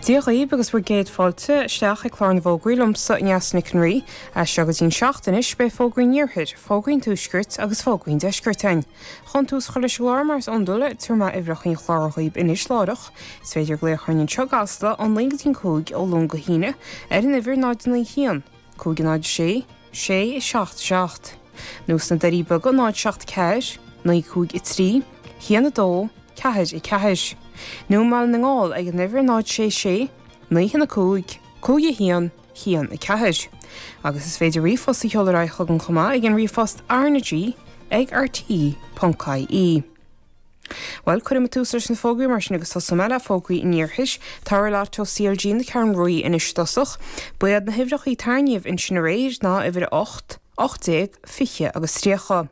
Dia dhaoibh agus bhur gcéad fáilte isteach ag clár na bhfógraí liomsa, Neasa Nic an Rí. As seo go dtí'n seacht anois, beidh fógraí an Iarthair, fógraí an Tuaiscirt agus fógraí an Deiscirt againn. Chun tús a chur leis an gclár, mar is iondúil, tabharfaidh mé uimhreacha an chláir dhaoib anois láithreach. Is féidir glaoch orainn anseo i gCasla, ón 9 go dtí'n 5, ó Luan go hAoine, ar an uimhir 0 9 1, 5 0 6 6 7 7. Nó sna Doirí Beaga 0 7 4, 9 5 3, 1 2, 4 4. Nó i mBaile na nGall ag an uimhir 0 6 6 9 1 5 5 1 1 4. Agus is féidir ríomhphost a sheoladh ar aghaidh chugainn chomh maith ag an ríomhphost rnag ag rte.ie. Bhuel, cuirfidh mé tús leis na fógraí mar sin agus tosóidh mé le fógraí an Iarthair. Toradh Lotto CLG na Ceathrún Rua anois i dtosach. Ba iad na huimhreacha a tarraingíodh ansin aréir ná uimhir 8, 18, 20 agus 30.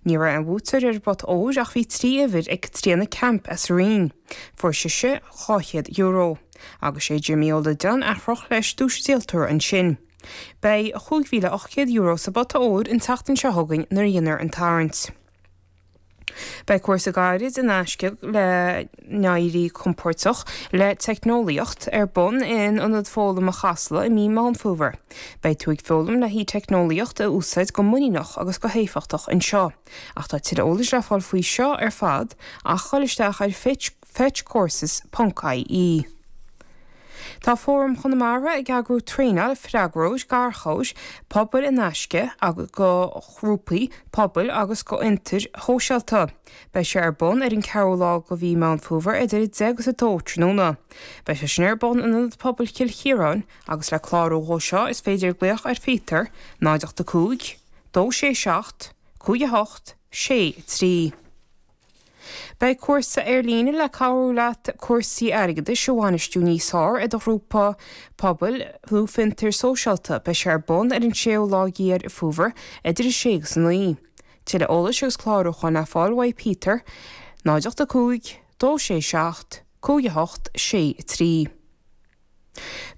Ní raibh aon bhuaiteoir ar an bpota óir ach bhí 3 uimhir ag Caitríona Kemp as an Rinn. Fuair sise €200. Agus sé Jimmy Ó Loideáin a chroch leis duais an díoltóra ansin. Beidh €5,800 sa bpota óir an tseachtain seo chugainn nuair a dhéanfar an tarraingt. Beidh cúrsa gairid in aisce le n-éirí compordach le teicneolaíocht ar bun in Ionad Foghlama Chasla i mí Meán Fómhair. Beidh tú ag foghlaim le haghaidh teicneolaíocht a úsáid go muiníneach agus go héifeachtach anseo. Ach tá tuilleadh eolais le fáil faoi seo ar fad ach dhul isteach ar fetchcourses ponc ie. Tá Fóram Chonamara ag eagrú traenáil freagróir garchabhair pobail in aisce go ghrúpaí pobail agus go fhiontair shóisialta. Beidh sé ar bun ar an 4ú lá de mhí Meán Fómhair idir 10 agus 2 tráthnóna. Beidh sé sin ar bun in Ionad Pobail Chill Chiaráin agus le clárú dhó seo is féidir glaoch ar Phíotar 0 8 5 2 6 7 5 8 6 3. Beidh cúrsa ar líne le cabhrú leat cúrsaí airgeadais a bhainistiú níos fearr i do ghrúpa pobail nó fiontar sóisialta. Beidh sé ar bun ar an séú lá de Dheireadh Fómhair idir 6 agus 9. Tuilleadh eolais agus clárúcháin le fáil uaidh Peter, 0 8 5 2 6 7 5 8 6 3.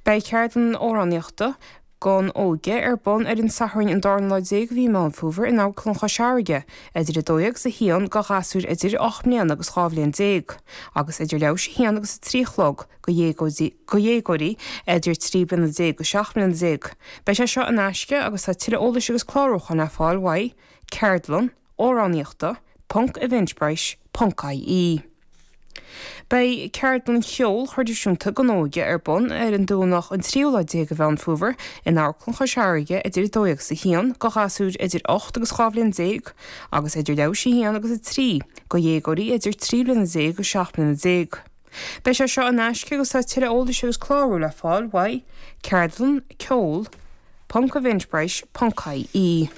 Beidh ceardlann amhránaíochta don óige ar bun ar an Satharn an darna lá déag de mhí Meán Fómhair in Amharclann Chois Fharraige idir 12 agus 1 do ghasúir idir 8 mbliana agus 12 bhliain agus idir leathuair théis 1 agus 3 a chlog do dhéagóirí idir 13 bliana agus 17 mbliana. Beidh sé seo in aisce agus tá tuilleadh eolais agus clárúcháin le fáil uaidh ceardlann amhránaíochta ponc eventbrite ponc ie. Beidh ceardlann cheoil thraidisiúnta don óige ar bun ar an Domhnach an tríú lá déag de Mheán Fómhair in Amharclann Chois Fharraige idir 12 agus 1 do ghasúir idir 8 agus 12 bhliain agus idir leathuair théis 1 agus 3 do dhéagóirí idir 13 bliana agus 17 bliana. Beidh sé seo in aisce agus tá tuilleadh eolais agus clárú le fáil uaidh ceardlann ceoil ponc eventbrite ponc ie.